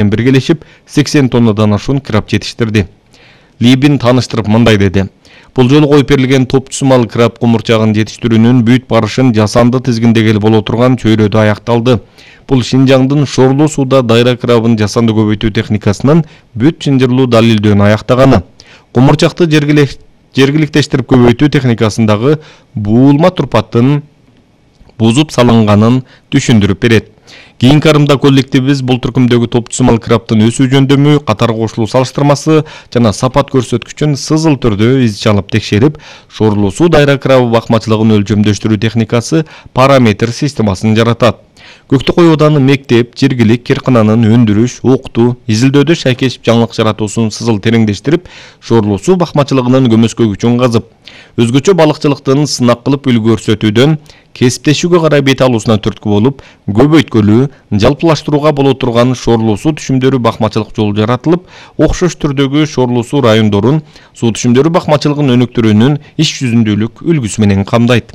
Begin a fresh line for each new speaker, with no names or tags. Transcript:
менен биргелешип 80 тоннадан ашуун краб жетиштирди. Либин тааныштырып мындай деди. Бул жолу коюп берилген топтусумал краб кумурчагын жетиштирүүнүн бүт барышын жасанды тизгиндегели боло турган чөйрөдө аякталды. Бул Шинжаңдын шорлуу сууда дайра крабын жасанды көбөйтүү техникасынын бүт чынжырлуу далилдөөнү аяктаганы. Кумурчакты жергиликтештирип көбөйтүү техникасындагы буулма турпаттын бузуп салынганын түшүндүрүп берет. Кийинки арымда коллективибиз бул түркүмдөгү топтусумал крабтын өсүү жөндөмү, катар кошулуу салыштырмасы жана сапат көрсөткүчүн сызыл түрдө из чалып текшерип, шорлуу суу дайра крабы бакмачылыгын өлчөмдөштүрүү техникасы параметр системасын жаратат. Көктөкөй ауданы мектеп, жергилик киркананын өндүрүш, окутуу, изилдөөдө шайкешип жаңылык жаратуусун сызыл тереңдештирип, шорлуу суу бакмачылыгынын көмөскөгүчүн казып, өзгөчө балыкчылыктын сынак кылып үлгү көрсөтүүдөн кесиптешүүгө карай бет алуусуна түрткү болуп, көбөйткөлүү, жалпылаштырууга боло турган шорлуу суу түшүмдөрү бакмачылык жолу жаратылып, окшош түрдөгү шорлуу суу райондорун суу түшүмдөрү бакмачылыгын өнүктүрүүнүн иш жүзүндүүлүк үлгүсү менен камдайт.